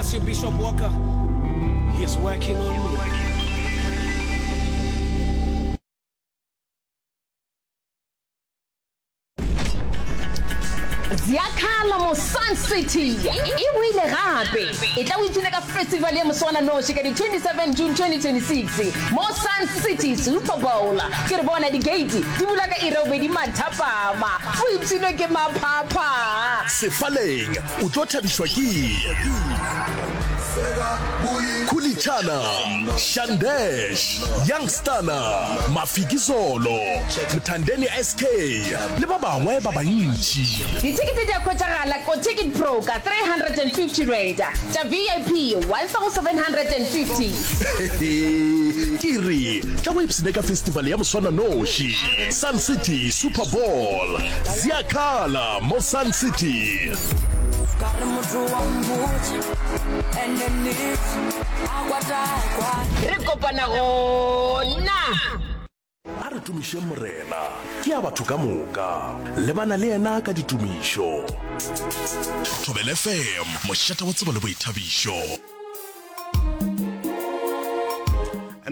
bless you, Bishop Walker. He's working on me. Ziakhala mo Sun City e boile gape. E tla o ipshine ka festival ya moswananoši ka di 27 June 2026 mo Sun City Super Bowl. Ke re bona di-gate di bula ka iri ya bobedi mathapama. O ipshinwe ke maphapha. Sefaleng o tlo thabišwa ke Khulitshana, Shandesh, Youngstana, Mafikizolo, Mthandeni SK le ba bangwe ba bantši. Dithekete di a hwetšagala ko Ticket Pro ka R350, tša VIP R1750. Ke re tla go ipshine ka festival ya moswananoši, Sun City Super Bowl. Ziakhala mo Sun City. Re kopana gona. A re tumišeng Morena, ke ya batho ka moka. Lebana le yena ka ditumišo. Thobela FM, mošate wa tsebo le boithabišo.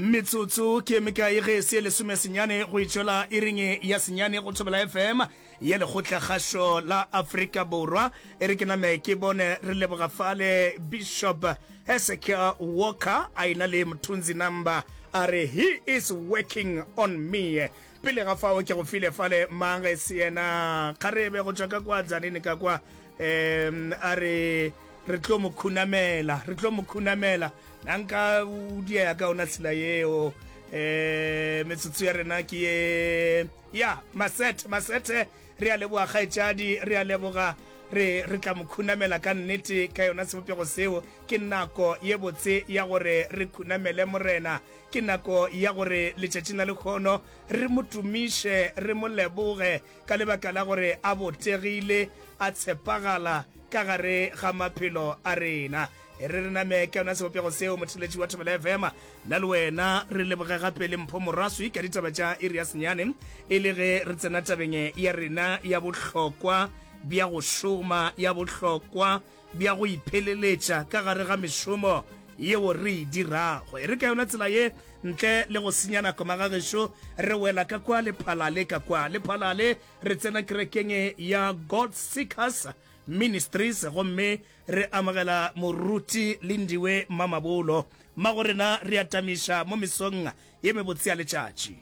Metsotso ke mekae ge e se lesomesenyane go itšwela iring ya senyane go Thobela FM ya Lekgotlakgašo la Afrika Borwa. E re ke name ke bone re leboga fale Bishop Hezekiah Walker a ena le Mthunzi Number a re he is working on me. Pele ga fao ke go file fale mang ge se yena kgarebe go tšwa ka kwa Tzaneen ka kwa um a re re tlo mo khunamela re tlo mo khunamela na nka o diea ka ona tsela yeo um metsotso ya rena ke ye ya masethe masethe re a leboga kgaetšadi re a leboga re re tla mo khunamela ka nnete ka yona sebopego seo ke nako ye botse ya gore re khunamele morena ke nako ya gore letšatšing la lekgono re mo tumiše re mo leboge ka lebaka la gore a botegile, a tshepagala ka gare ga maphelo a rena. E re re name ka yona sebopego seo, motheletši wa Thobela FM, nna le wena re leboge gape le Mpho Moraswi ka ditaba tša iri ya senyane, e le ge re tsena tabeng ya rena ya bohlokwa bja go šoma, ya bohlokwa bja go ipheleletša ka gare ga mešomo yeo re e dirago. E re ka yona tsela ye, ntle le go senya nako magagešo, re wela ka kwa Lephalale, ka kwa Lephalale re tsena kerekeng ya God Seekers Ministries gomme re amogela Moruti Lindiwe Mamabolo. Mmagorena re a tamiša mo mesong ye mebotse ya letšatši.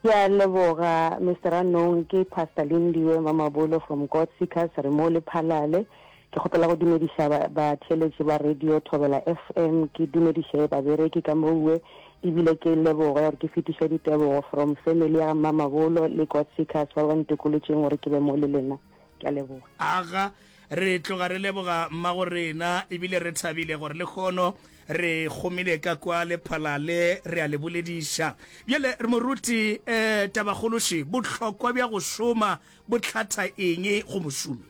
Ke a leboga Mister Ranong, ke Pastor Lindiwe Mamabolo from God Seekers, re mo Lephalale. Ke kgopela go dumediša batheeletši ba radio Thobela FM, ke dumediše babereki ka mowe, ebile ke leboge gore ke fetiše ditebogo from family ya ga Mmamabolo le God Seekers ba ba ntokolotšeng gore ke be mo le lena. Ke a leboga. Aga, re tloga re leboga mmagorena ebile re thabile gore lehono Re gomile ka kwa Lephalale, re a le bolediša. Bjale re moruti, eh, tabakgološi, bohlokwa bja go šoma bo hlatha eng go mošomi?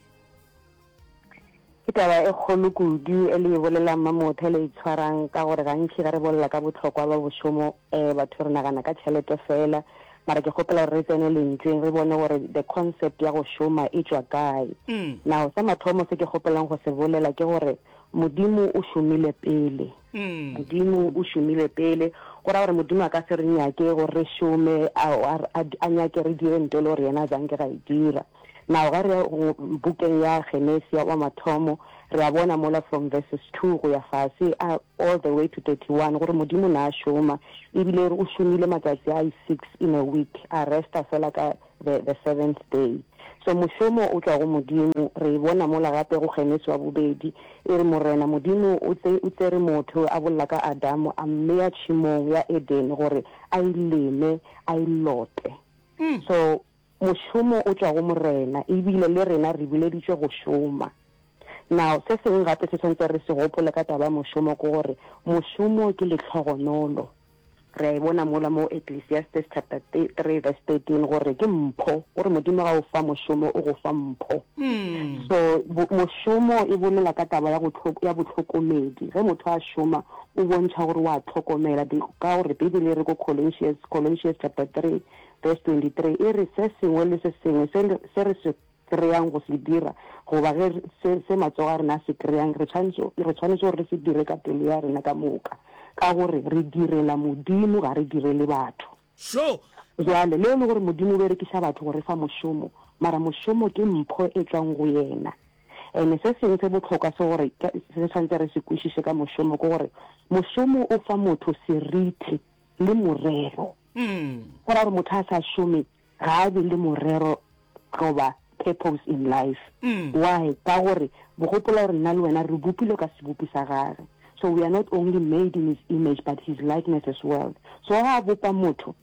Ke taba e kgolo kudu e le e bolelang Mmamotho e le e tshwarang ka gore gantši ge re bolela ka bohlokwa bja bošomo um batho re nagana ka tšhelete fela mara ke kgopela gore re tsene lentšweng re bone gore the concept ya go šoma e tšwa kae. Now sa mathomo se ke kgopelang go se bolela ke gore Modimo o šomile pele. Modimo o šomile pele. Go ra gore Modimo a ka se re nyake gore re šome, a, a, a nyake re dire nto le gore yena a zanke ga e dira. Now, ge re ya bukeng ya Genesi ya wa mathomo, re a bona mola from verses 2 go ya fase, a, all the way to 31, gore Modimo na a šoma. Ebile o šomile matsatsi a i-six in a week, a resta fela ka the, the seventh day. So mošomo o tšwa go Modimo. Re e bona mola gape go Genesi wa bobedi, e re, Morena Modimo o tse, o tsere motho, a bolela ka Adamo, a mmea tšhemong ya Edene gore a e leme, a e lote. So mošomo o tšwa go Morena, ebile le rena re bileditšwe go šoma. Now, se sengwe gape se tshwanetse re se gopole ka taba ya mošomo ke gore mošomo ke lehlogonolo. Re a e bona mola mo Ecclesiastes chapter 3 verse 13 gore ke mpho, gore Modimo ga o fa mošomo o go fa mpho. So mošomo e bolela ka taba ya go ya bohlokomedi. Ge motho a šoma o bontšha gore wa hlokomela ka gore Bibele e re ko Colossians, Colossians chapter 3 verse 23 e re se sengwe le se sengwe se se re se. kreyang go se dira, goba ge se, se matsogo a rena a se kreyang, re tshwanetše, re tshwanetše gore re se dire ka pelo ya rena ka moka, ka gore re direla Modimo, ga re direle batho. Sho! Bjale, le e le gore Modimo o berekiša batho go re fa mošomo, mara mošomo ke mpho e tšwang go Yena. Ene se sengwe se bohlokwa se gore se tshwanetse re se kwešiše ka mošomo ke gore mošomo o fa motho seriti le morero. Go ra gore motho a sa šome ga a be le morero goba purpose in life. Why? Ka gore gopola gore nna le wena re bopilwe ka sebopi sa gage. So we are not only made in his image but his likeness as well. So ga a bopa motho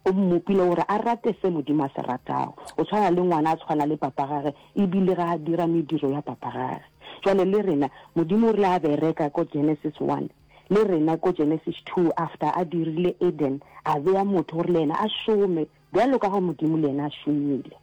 o mmopile gore a rate se Modimo a se ratago. O tshwana le ngwana a tshwana le papa gage ebile ga a dira mediro ya papa gage. Jwale le rena Modimo o rile a bereka ko Genesis one le rena ko Genesis 2 after a dirile Eden a bea motho gore le yena a šome bjalo ka ge Modimo le yena a šomile.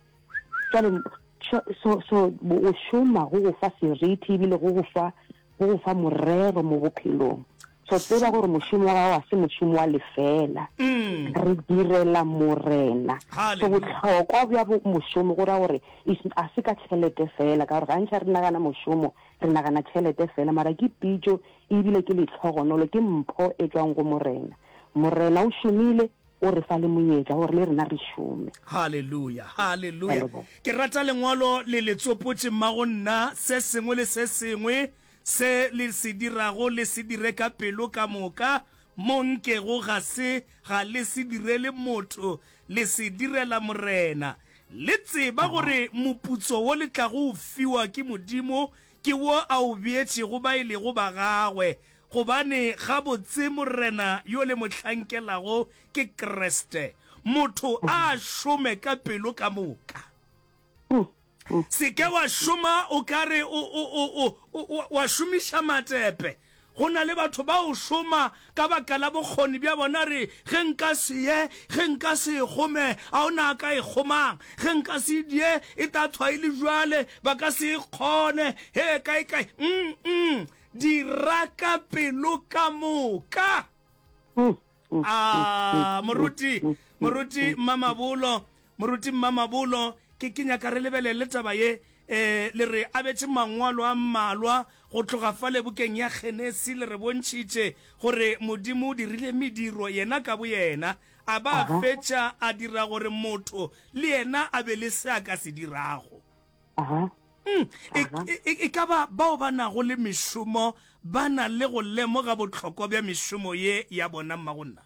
Jwale so so so go šoma go go fa seriti ebile go go fa go go fa morero mo bophelong. So tseba gore mošomo wa gago ga se mošomo wa lefela. Re direla Morena. So bohlokwa bja mošomo go ra gore ga se ka tšhelete fela, ka gore gantši re nagana mošomo re nagana tšhelete fela, mara ke pitšo ebile ke lehlogonolo, ke mpho e tšwang go Morena. Morena o šomile, o re fa le monyetla gore le rena re šome. Haleluya, haleluya. Ke rata lengwalo le le tsopotše mmago nna, se sengwe le se sengwe se le se dirago le se dire ka pelo ka moka, mo nkego ga se ga le se direle motho, le se direla Morena. Le tseba gore moputso wo le tlago o fiwa ke Modimo ke wo a o beetšego ba e lego ba gagwe, Gobane gabotse Morena yo le mo hlankelago ke Kriste. Motho a šome ka pelo ka moka. Se ke wa šoma o ka re o, o, o, o, o, wa šomiša matepe. Go na le batho ba o šoma ka baka la bokgoni bja bona, re, Ge nka se ye, ge nka se e kgome, a o na ka e kgomang? Ge nka se die, e tla thwa e le bjale, ba ka se e kgone. He, kae, kae. Mm-mm. Dira ka pelo ka moka. A moruti, moruti Mmamabolo, moruti Mmamabolo, ke ke nyaka re lebelele taba ye. Eh, le re abetše mangwalo a mmalwa go tloga fale bukeng ya Genesi, le re bontšhitše gore Modimo o dirile mediro yena ka boyena, a ba a fetša a dira gore motho le yena a be le se a ka se dirago. Aha. Mm, e, e, e, e ka ba bao ba nago le mešomo ba na le go lemoga bohlokwa bja mešomo ye ya bona mmagonna?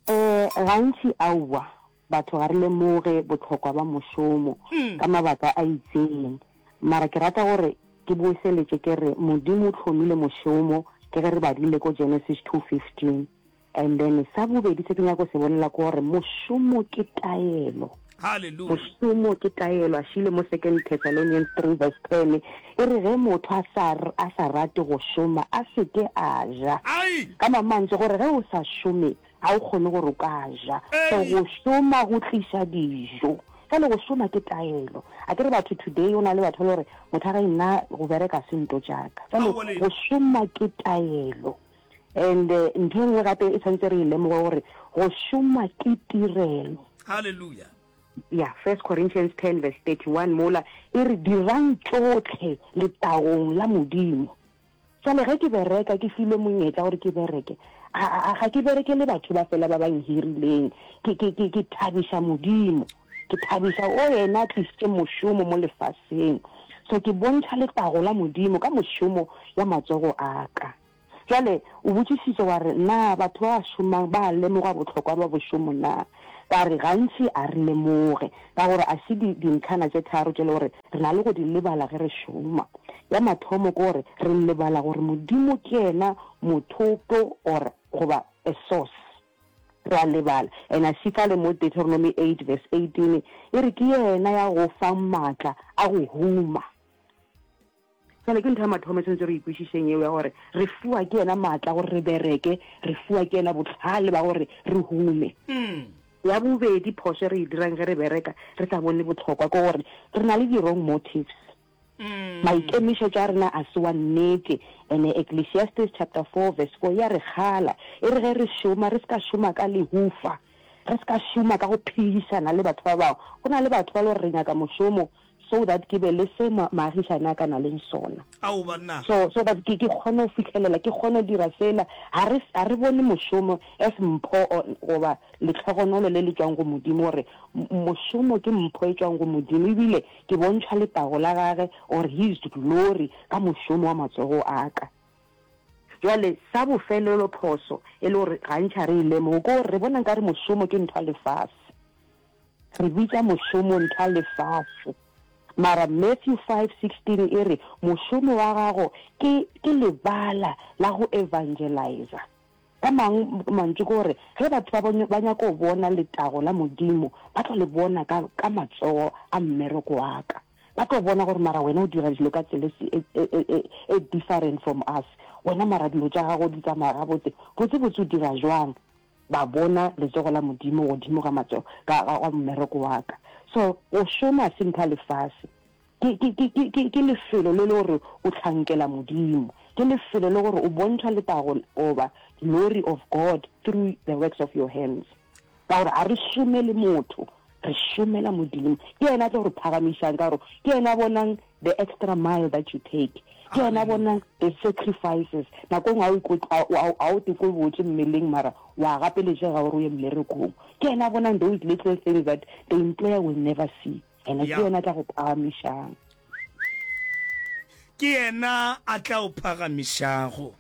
Eh, gantši aowa, batho ga re lemoge bohlokwa ba mošomo mm. ka mabaka a itseng. Mara ke rata gore ke boeseletše ke re Modimo o hlomile mošomo ke ge re badile ko Genesis 2:15. And then sa bobedi se ke nyako se bolela ke gore mošomo ke taelo. Hallelujah. Mošomo ke taelo. A šile mo Second Thessalonians 3 verse 10 e re ge motho a sa a sa rate go šoma a se ke a ja. Ai. Ka mang mantswe gore ge o sa šome ga o kgone gore o ka ja. So Ei. go šoma go tliša dijo. Jwale go šoma ke taelo. A ke re batho today o na le batho ba le gore motho a re nna go bereka se nto tša ka. Jwale Aowa le. go šoma ke taelo. And ntho e nngwe gape e tshwanetse re e lemoge gore go šoma ke tirelo. Hallelujah. Ya, First Corinthians 10 verse 31 mola e re dirang tšohle letagong la Modimo. Jwale ge ke bereka ke filwe monyetla gore ke bereke, a, a, ga ke berekele batho ba fela ba ba nhirileng, ke, ke, ke, ke thabiša Modimo. Ke thabiša o yena a tlišitše mošomo mo lefaseng. So ke bontšha letago la Modimo ka mošomo ya matsogo a ka. Bjale, o botšišitše wa re, Na batho ba ba šomang ba a lemoga bohlokwa bja bošomo na? Ka re, Gantši a re lemoge, ka gore a se di, dintlhana tše tharo tše le gore re na le go di lebala ge re šoma. Ya mathomo ke gore re lebala gore Modimo ke yena mothopo or, goba a source. Re a lebala. And a še fale mo Deuteronomy 8 verse 18 e re ke yena ya go fang maatla a go huma. Bjale ke ntho ya mathomo e tshwanetse re ikwešišeng yeo ya gore re fiwa ke yena maatla gore re bereke, re fiwa ke yena bohlale ba gore re hume. Ya bobedi phošo e re e dirang ge re bereka re sa bone bohlokwa ke gore re na le di-wrong motives. Maikemišetšo a rena a se wa nnete. Ene Ecclesiastes chapter 4 verse 4 ya re kgala, e re ge re šoma re se ka šoma ka lehufa. Re se ka šoma ka go phegišana le batho ba bangwe. Go na le batho ba le gore re nyaka mošomo so that ke be le se maagišane a ka na leng sona. Ao banna. So, so that ke, ke kgone go fihlelela, ke kgone go dira sela. Ga re, ga re bone mošomo as mpho or, goba lehlogonolo le le tšwang go Modimo, gore mošomo ke mpho e tšwang go Modimo, ebile ke bontšha letago la Gage or His glory ka mošomo wa matsogo a ka. Bjale, sa bofelelo phoso e le gore gantši ga re e lemoge, ke gore re bona nkare mošomo ke ntho ya lefase. Re bitša mošomo ntho ya lefase. Mara Matthew 5:16 e re mošomo wa gago ke, ke lebala la go evangelizer. Ka mang mantšu ke gore ge batho ba, ba nyaka go bona letago la Modimo, ba tlo le bona ka, ka matsogo a mmereko wa ka. Ba tlo bona gore mara wena o dira dilo ka tsela e, e, e, e, e different from us. Wena mara dilo tša gago di tsamaya gabotse. Botse-botse o dira jwang? Ba bona letsogo la Modimo godimo ga matsogo, ka, ga, ga mmereko wa ka. So, go šoma se ntho ya lefase. Ke, ke, ke, ke, ke, ke lefelo le le gore o hlankela Modimo. Ke lefelo le gore o bontšha letago goba glory of God through the works of your hands. Ka gore ga re šomele motho, re šomela Modimo. Ke yena a tlo re phagamišang ka gore ke yena a bonang the extra mile that you take. Ke yena a bonang the sacrifices. Nako nngwe ga o te kwe botse mmeleng mara wa gapeletšega gore o ye mmerekong. Ke yena a bonang those little things that the employer will never see. Ene ke yena a tla go phagamišang. Ke yena a tla o phagamišago.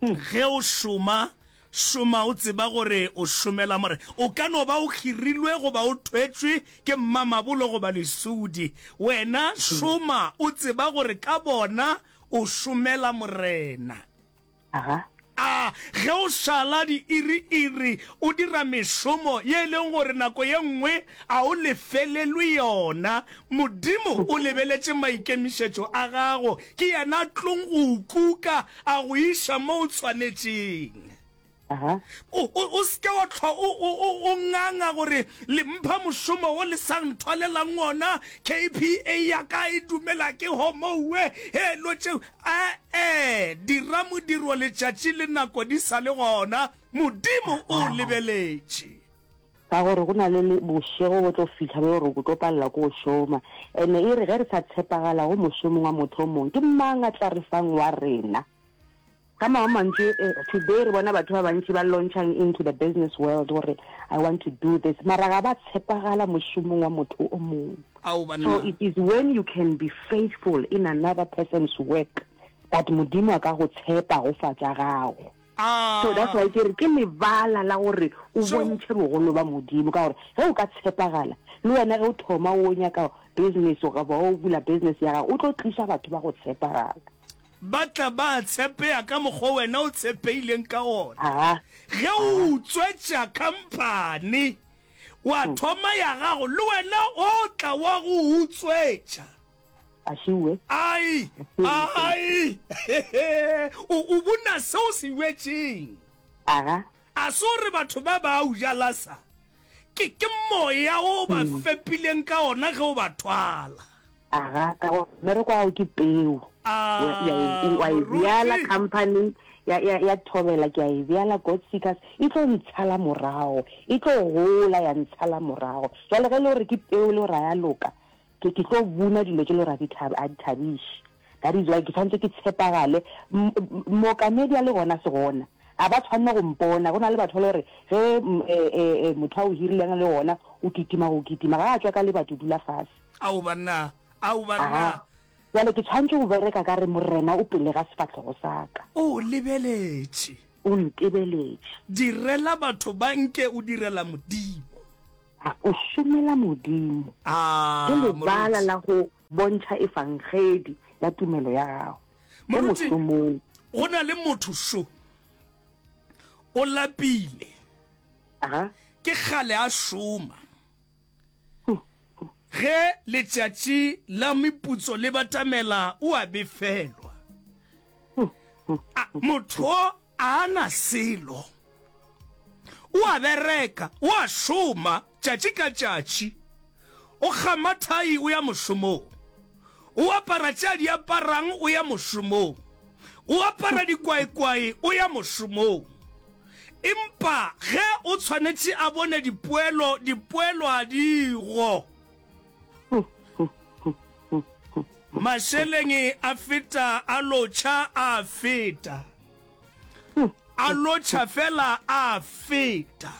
Ge o šoma, šoma o tseba gore o šomela Morena. O ka no ba o hirilwe goba o thwetšwe ke mmamabolo goba lesudi. Wena šoma o tseba gore ka bona o šomela Morena. Aga. A Ge o šala diiri-iri o dira mešomo ye e leng gore nako ye nngwe a o lefelelwe yona, Modimo o lebeletše maikemišetšo a gago. Ke yena a tlong go o kuka a go iša mo o tshwanetšeng. Aha. O, o, o se ke wa hlwa o, o, o, o nganga gore le mpha mošomo wo le sa nthwalelang wona, KPA ya ka e dumela ke homouwe, he lo tšeo. Ee, dira modiro letšatši le nako di sa le gona, Modimo o o lebeletše. Ka gore go na le bošego bo tlo fihla bjo gore o tlo palela ke go šoma. Ene e re ge re sa tshepagala go mošomong wa motho o mongwe, ke mang a tla re fang wa rena? Ka mangwe mantšu, today re bona batho ba bantši ba launchang into the business world gore I want to do this, mara ga ba tshepagala mošomong wa motho o mongwe. Ao banna. So it is when you can be faithful in another person's work that Modimo a ka go tshepa go fa tša gago. So that's why ke re ke lebala la gore o bontšhe bogolo ba Modimo ka gore ge o ka tshepagala le wena ge o thoma o nyaka business goba o bula business ya gago o tlo tliša batho ba go tshepagala. Ba tla ba tshepea ka mokgwa wena o tshepeileng ka ona. Aha. Ge o utswetša khamphani wa thoma ya gago, le wena o tla wa go utswetša. Ašiwe. Ai, ai, o, o bona se o se bjetšeng. Aga. A se gore batho ba ba o jala sa, ke, ke moya o ba fepileng ka ona ge o ba thwala. Aga, ka gore mmereko wa gago ke peu. A, Wa e bjala moruti. company ya, ya, ya Thobela, ke a e bjala God Seekers, e tlo ntshala morago, e tlo gola ya ntshala morago. Jwale ge e le gore ke peu e le gore ga ya loka, Ke, ke tlo buna dilo tše le gore a di thab, a di thabiše. That is why ke tshwanetse ke tshepagale. M, m, mookamedi a le gona se gona, a ba tshwanne go mpona. Go na le batho ba le gore ge, m, e, e, e, motho a o hirileng a le gona, o kitima go kitima. Ga a tšwa ka lebati o dula fase. Ao banna, ao banna. Aha. Bjale ke tshwanetse go bereka ka re Morena o pele ga sefahlogo sa ka. O lebeletše. O ntebeletše. Direla batho ba nke o direla Modimo. A o šomela Modimo? A, Ke lebala Moruti. la go bontšha efangedi ya tumelo ya gago mo Moruti, mošomong. go na le motho šo, o lapile. Aha. Ke kgale a šoma. Ge letšatši la meputso le batamela, o a befelwa. A, motho o a na selo. O a bereka, o a šoma tšatši ka tšatši. O kgama thai o ya mošomong. O apara tše a di aparang o ya mošomong. O apara dikwaekwae o ya mošomong. Empa ge o tshwanetše a bone dipoelo, dipoelo a di go. Mašeleng a feta a lotšha a feta. A lotšha fela a feta.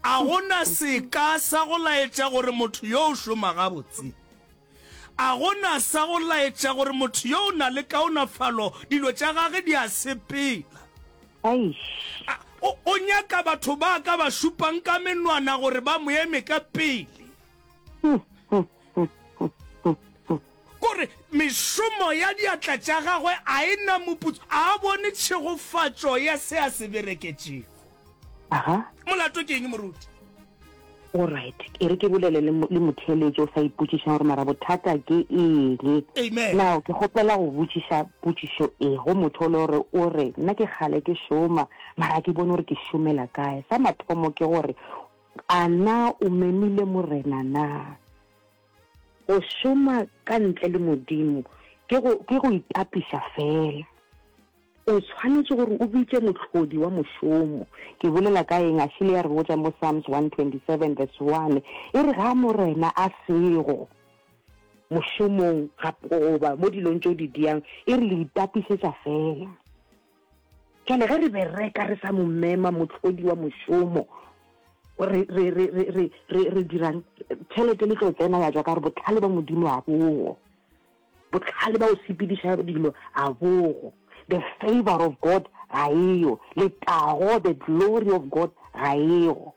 A go na seka sa go laetša gore motho yo o šoma gabotse. A go na sa go laetša gore motho yo o na le kaonafalo, dilo tša gage di a sepela. Eish. A, o, o nyaka batho ba ka ba šupang ka menwana gore ba mo eme ka pele. Kore mešomo ya diatla tša gagwe a e na moputso, a a bone tšhegofatšo ya se a se bereketšego. Aha. Molato ke eng, moruti? Alright, e re ke bolele le, le motheeletši o sa ipotšišang gore mara bothata ke eng. Amen. Now, ke kgopela go botšiša potšišo e go motho o le gore o re, nna ke kgale ke šoma, mara ga ke bone gore ke šomela kae. Sa mathomo ke gore, a na o memile Morena na? Go šoma ka ntle le Modimo ke go, ke go itapiša feela. O tshwanetše gore o bitše mohlodi wa mošomo. Ke bolela ka eng? Ashile ya re botša mo Psalms 127 verse 1, e re ga Morena a sego mošomong goba mo dilong tše o di diang, e re le itapišetša feela. Jwale ge re bereka re sa mo mema mohlodi wa mošomo, re, re, re, re, re, re, re dirang? Tšhelete le tlo tsena ya tšwa ka gore bohlale ba Modimo ga bogo. Bohlale ba go sepediša dilo ga bogo. The favour of God ga eyo. Letago, the glory of God, ga ego.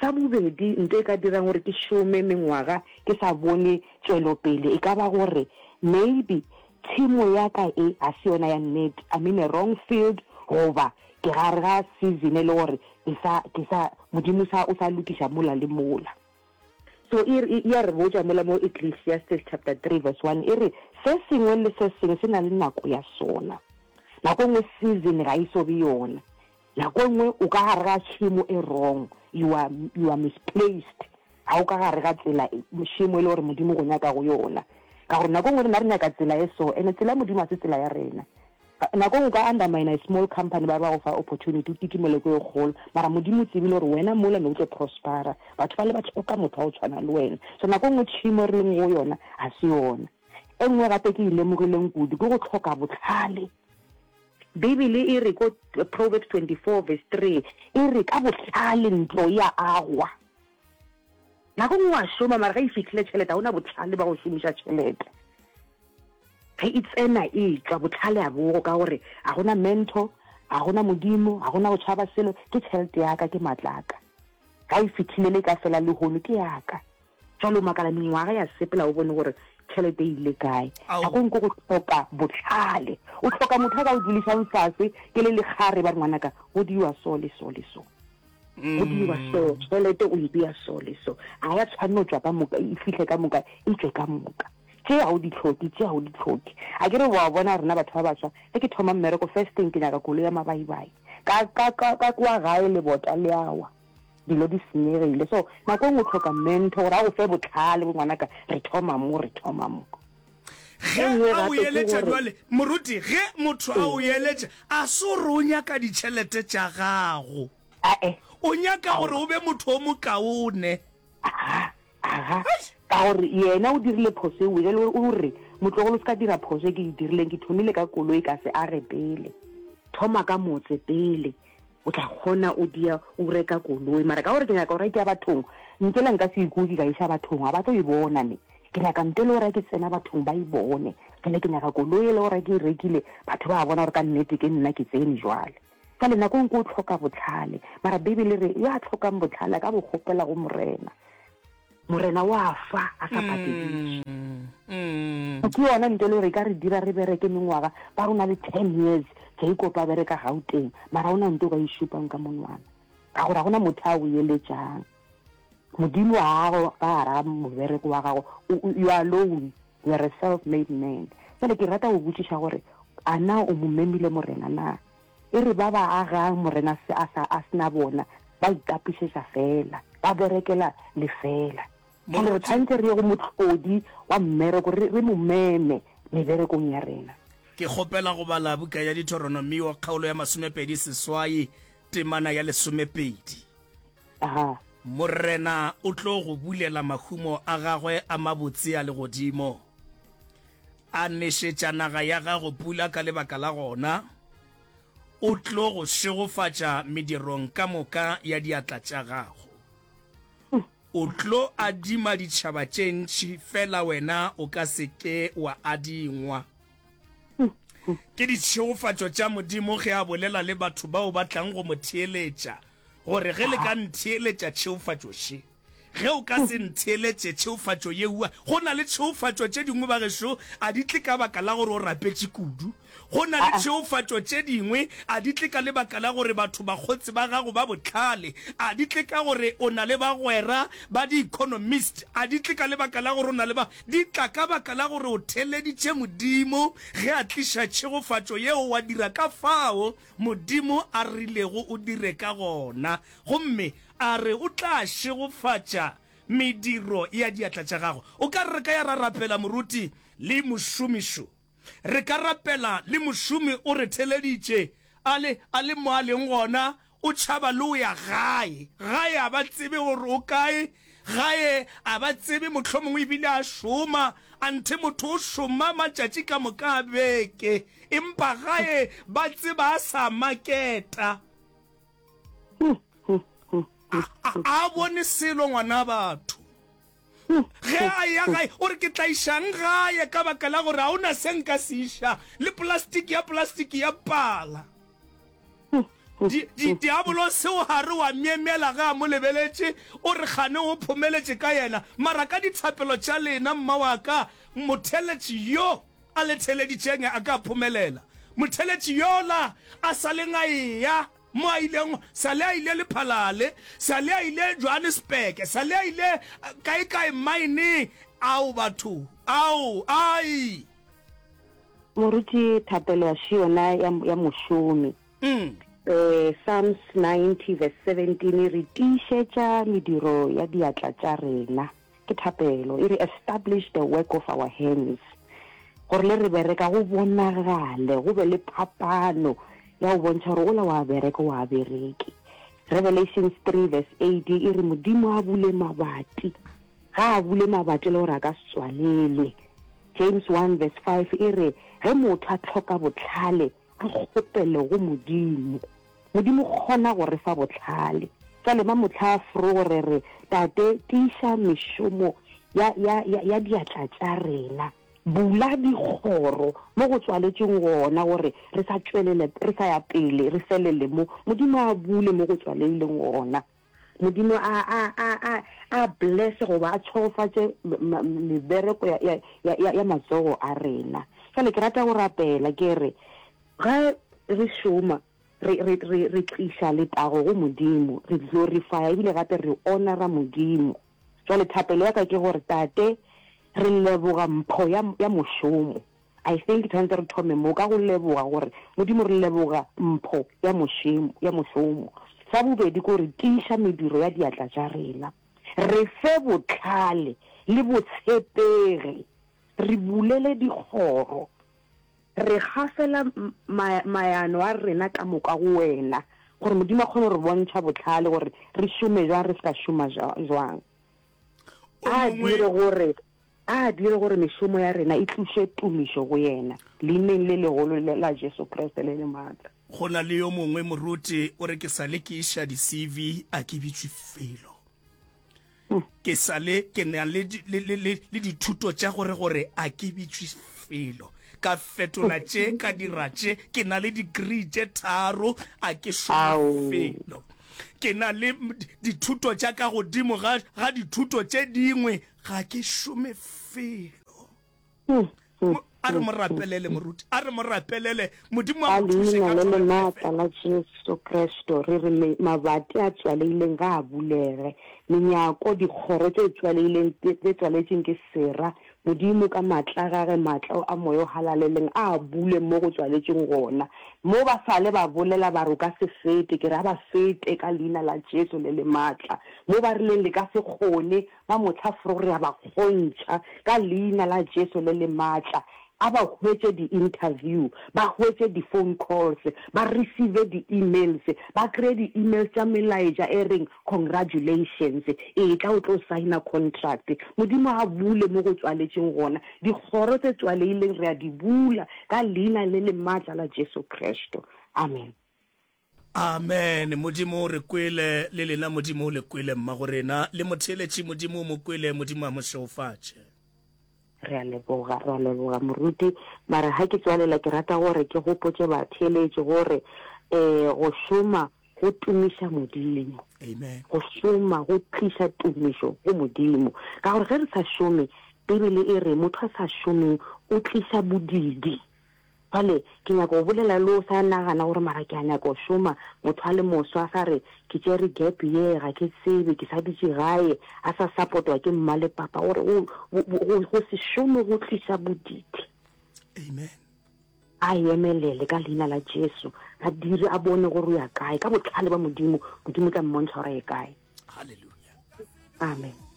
Sa bobedi, nto e ka dirang gore ke šome mengwaga ke sa bone tšwelopele e ka ba gore maybe tšhemo ya ka e ga se yona ya nnete, I'm in a wrong field goba ke gare ga season e le gore ke sa, ke sa, Modimo sa, o sa lokiša mola le mola. So e, e, e a re botša mola mo Ecclesiastes chapter 3 verse 1, e re, Se sengwe le se sengwe se na le nako ya sona. Nako e nngwe season ga e so be yona. Nako e nngwe o ka gare ga tšhemo e wrong, you are, you are misplaced. Ga o ka gare ga tsela, tšhemo e le gore Modimo o go nyaka go yona. Ka gore nako e nngwe rena re nyaka tsela e so, ene tsela ya Modimo ga se tsela ya rena. Nako e nngwe o ka undermine a small company ba re ba go fa opportunity o kitimele ko e kgolo mara Modimo o tsebile gore wena mola ne o tlo prospera. Batho bale ba hloka motho wa go tshwana le wena. So nako e nngwe tšhemo e re leng go yona ga se yona. E nngwe gape ke e lemogileng kudu ke go hloka bohlale. Bibele e re ko Proverbs 24 verse 3 e re ka bohlale ntlo e a agwa. Nako e nngwe wa šoma mara ge e fihlile tšhelete ga o na bohlale ba go šomiša tšhelete. Ge e tsena e tšwa, bohlale a bogo ka gore ga gona mentor, ga gona Modimo, ga gona go tšhaba selo, ke tšhelete ya ka, ke matla a ka. Ga e fihlile le e ka fela lehono, ke ya ka. Jwale o makala mengwaga ya sepela o bone gore tšhelete e ile kae. Nako e nngwe ke go hloka bohlale. O hloka motho a ka o dulišang fase ke le lekgare ba re ngwanaka go diwa so le so le so. Go diwa so, tšhelete o e bea so le so. Ga ya tshwanno tšwa ka moka, e fihle ka moka, e tšwe ka moka. Tše ga o di hloke, tše ga o di hloke. A ke re wa bona rena batho ba baswa, ge ke thoma mmereko first thing ke nyaka koloi ya mabaibai. Ka, ka, ka, ka kwa gae lebota le a wa, dilo di senyegile. So nako e nngwe o hloka mentor gore a go fe bohlale, bo ngwanaka re thoma mo, re thoma mo. Ge E nngwe a o gape ke eletša gore. bjale, moruti, ge motho a o Ee. eletša, a se gore o nyaka ditšhelete tša gago. Ae. O nyaka gore Aowa. o be motho o mokaone. Aga, aga. Ka gore yena o dirile phoso eo, bjale o re, Motlogolo o se ka dira phoso e ke e dirileng, ke thomile ka koloi ka se age pele. Thoma ka motse pele, o tla kgona o dia o reka koloi. Mara ka gore ke nyaka go reka ya bathong, ntela nka se ikuke ka iša bathong, ga ba tlo e bona ne. Ke nyaka nto e le gore ke tsena bathong ba e bone. Jwale ke nyaka koloi e le gore ke e rekile, batho ba bona gore ka nnete ke nna ke tsene jwale. Bjale nako e nngwe o hloka bohlale, mara Beibele e re, Yo a hlokang bohlale a ka bo kgopela go Morena. Morena o a fa a sa patediše. Ke yona nto e le gore e ka re dira re bereke mengwaga, ba re o na le ten years Jacob a bereka Gauteng, mara ga o na nto o ka e šupang ka monwana, ka gore ga go na motho a o eletšang. Modimo ga a ka gare ga mobereko wa gago, you are alone, you are a self-made man. Bjale ke rata go botšiša gore, a na o mo memile Morena na? E re ba ba agang Morena se a sa a se na bona, ba itapišetša feela, ba berekela lefeela. Bjale re tshwanetse re ye go Mohlodi wa mmereko, re, re mo meme meberekong ya rena. Ke kgopela go bala buka ya Deuteronomio kgaolo ya 28 temana ya lesomepedi. Aha. Morena o tlo go bulela mahumo a gagwe a mabotse a legodimo, a nešetša naga ya gago pula ka lebaka la gona, o tlo go šegofatša medirong ka moka ya diatla tša gago. O tlo adima ditšhaba tše ntši, fela wena o ka se ke wa adingwa. Ke ditšhegofatšo tša Modimo ge a bolela le batho bao ba tlang go mo theeletša, gore ge le ka ntheeletša tšhegofatšo še. Ge o ka se ntheeletše tšhegofatšo yeua, go na le tšhegofatšo tše dingwe bagešo a di tle ka baka la gore o rapetše kudu. Go na le tšhegofatšo tše dingwe a di tle ka lebaka la gore batho bakgotsi ba gago ba bohlale, a di tle ka gore o na le bagwera ba di-economist, a di tle ka lebaka la gore o na le ba, di tla ka baka la gore o theeleditše Modimo ge a tliša tšhegofatšo yeo wa dira ka fao Modimo a rilego o dire ka gona, gomme a re o tla šegofatša mediro ya diatla tša gago. O ka re re ka ya ra rapela moruti le mošomišo. Re ka rapela le mošomi o re theleditše a le, a le mo a leng gona, o tšhaba le o ya gae. Gae a ba tsebe gore o kae, gae a ba tsebe mohlomongwe ebile a šoma, anthe motho o šoma matšatši ka moka a beke, empa gae ba tseba a sa maketa. A, a, a bone selo ngwana batho. Ge a eya gae, o re, Ke tla išang gae ka baka la gore ga o na se nka se iša, le polastiki ya polastiki ya pala. Di, di, diabolose o gare wa myemyela ge a mo lebeletše, o re kgane o phomeletše ka yena. Mara ka dithapelo tša lena, mma wa ka, motheletši yo a le theleditšeng a ka phomelela. Motheletši yola a sa leng a eya Mo a ileng, sa le a ile Lephalale, sa le a ile Johannesburg, sa le a ile kae-kae mine. Ao batho, ao, ai! Moruti, thapelo a še yona ya, ya mošomi. Mm. Eh, Psalms 90 verse 17 e re tiišetša mediro ya diatla tša rena. Ke thapelo, e re establish the work of our hands. Gore le re bereka go bonagale, go be le phapano ya go bontšha gore ola wa bereka wa bereke. Revelations 3 verse 8 e re Modimo a bule mabati, ga a bule mabati le gore a ka se tswalelwe. James 1 verse 5 e re ge motho a hloka bohlale a kgopele go Modimo. Modimo kgona go re fa bohlale. Bjale mamohla a fro re re, Tate, tiiša mešomo ya, ya, ya, ya diatla tša rena. Bula dikgoro mo go tswaletšweng gona, gore re sa tšwelele, re sa ya pele, re felele mo. Modimo a bule mo go tswaleileng gona. Modimo a, a, a, a, a blesse goba a tšhegofatše mebereko ya, ya, ya, ya, ya matsogo a rena. Bjale ke rata go rapela, ke re, ge re šoma, Re, re, re, re tliša letago go Modimo, re glorifya ebile gape re honora Modimo. Jwale thapelo ya ka ke gore, Tate, re leboga mpho ya, ya mošomo. I think tshwanetse re thome mo ka go leboga gore, Modimo, re leboga mpho ya mošemo, ya mošomo. Sa bobedi ke gore tiiša mediro ya diatla tša rena. Re fe bohlale le botshepegi. Re bulele dikgoro. Re gafela ma, maano a rena ka moka go Wena, gore Modimo a kgone go re bontšha bohlale gore re šome bjang, re se ka šoma jwang. O A mongwe. dire gore, a dire gore mešomo ya rena e tliše tumišo go Yena, Leineng le legolo la Jesu Kriste le le maatla. Go na le yo mongwe moruti o re ke sa le ke iša di-CV a ke bitšwe felo. Ke sa le ke na le, le, le, le, le dithuto tša gore gore a ke bitšwe felo. Ka fetola tše, ka dira tše, ke na le degree tše tharo, a ke šome felo. Ke na le dithuto tša ka godimo ga, ga dithuto tše dingwe, ga ke šome felo. A re mo rapelele, moruti. A re mo rapelele. Modimo a Ka mo thuše leina ka le le Thobela maatla FM. la Jesu Kristo, re re me, mabati a tswaleileng ga a bulege, menyako, dikgoro tše tswaleileng, tše tswaletšeng ke sera, Modimo ka maatla a Gage, maatla a Moya o Halaleleng, a a bule mo go tswaletšeng gona. Mo ba sale ba bolela ba re o ka se fete, ke re a ba fete ka Leina la Jesu le le maatla. Mo ba rileng le ka se kgone, Ba mo hlafro re a ba kgontšha ka Leina la Jesu le le maatla. A ba hwetše di-interview, ba hwetše di-phone calls, ba receive di-emails, ba kreye di-emails tša melaetša e reng congratulations, etla o tlo signer contract. Modimo a bule mo go tswaletšeng gona. Dikgoro tse tswaleileng re a di bula ka Leina le le maatla la Jesu Kristo. Amen. Amen Modimo o re kwele le lena Modimo o le kwele mmago rena le motheeletši Modimo o mo kwele Modimo a mo šegofatše. Re a leboga, re a leboga moruti. Mara ha ke tswalela ke rata gore ke gopotše batheeletši gore um go šoma go tumiša Modimo. Amen. Go šoma go tliša tumišo go Modimo. Ka gore ge re sa šome, Bibele e re motho a sa šomeng o tliša bodidi. Bjale, ke nyaka go bolela le o sa nagana gore mara ke a nyaka go šoma, motho a le moswa a sa re, ke tšere gap year, ga ke tsebe, ke sa dutše gae, a sa support-wa ke mma le papa, gore go, go, go se šome go tliša bodidi. Amen. A emelele ka Leina la Jesu, a dire, a bone gore o ya kae. Ka bohlale ba Modimo, Modimo o tla mmontšha gore a ye kae. Hallelujah. Amen.